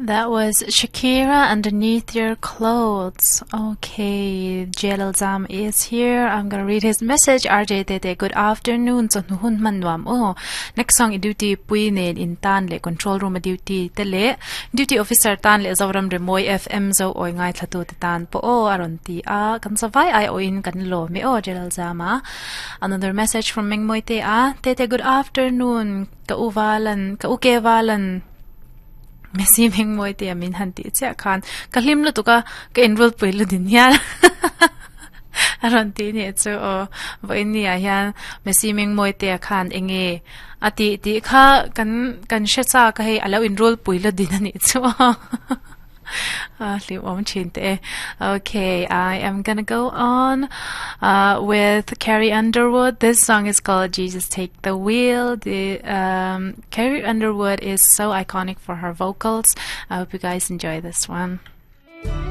That was Shakira underneath your clothes. Okay, Jalal Zam is here. I'm gonna read his message. RJ Tete, good afternoon. So hun man nuam o. Next song i duty pui nen in tan le control room a duty te le duty officer tan le Zoram Remoy FM zo oi ngai thlatu te tan po o aron ti a kan savai ai o in kan lo me o Jalal Zama. Another message from Mengmoi te a Tete good afternoon. Ka uvalan ka uke valan Messi meng mawi te a min han tih chiah khan ka hlim lutuk a ka enroll pui lu din hian a rawn tih nih chu aw vawiin ni ah hian Messi meng mawi te ah khan eng nge a tih tih kha kan kan hre chak a hei a lo enroll pui lu din a nih chu aw a hlimawm thin teh e okay I am gonna go on ah with Carrie Underwood this song is called Jesus take the wheel the um Carrie Underwood is so iconic for her vocals. I hope you guys enjoy this one.